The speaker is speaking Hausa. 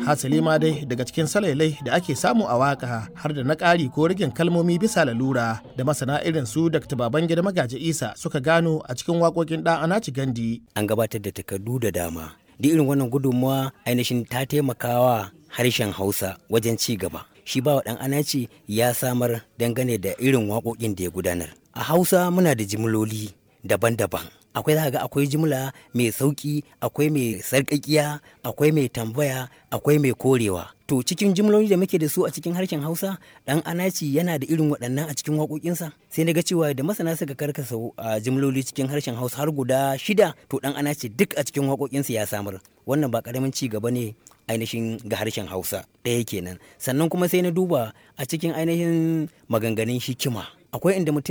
Hasali ma dai, daga cikin salailai da ake samu a waka har da na ƙari ko rigin kalmomi bisa lalura da masana irin su Dr. Babangida Magaji Isa suka gano a cikin waƙoƙin Ɗan Anaci Gandi. An gabatar da takardu da dama. Duk irin wannan gudunmawa ainihin ta taimakawa harshen Hausa wajen ci gaba. Shi ba wa Ɗan Anaci ya samar dangane da irin waƙoƙin da ya gudanar. A Hausa muna da jimloli daban-daban. Akwai, za ga akwai jimla mai sauƙi, akwai mai sarƙaƙiya, akwai mai tambaya, akwai mai korewa. To, cikin jimloli da muke da su a cikin harshen Hausa, Ɗan Anaci yana da irin waɗannan a cikin waƙoƙinsa. Sai na ga cewa da masana suka karkasa a jimloli cikin harshen Hausa har guda shida, to Ɗan Anaci duk a cikin waƙoƙinsa ya samar. Wannan ba ƙaramin ci gaba ne ainihin ga harshen Hausa. Ɗaya kenan. Sannan kuma sai na duba a cikin ainihin maganganun hikima, akwai inda mutum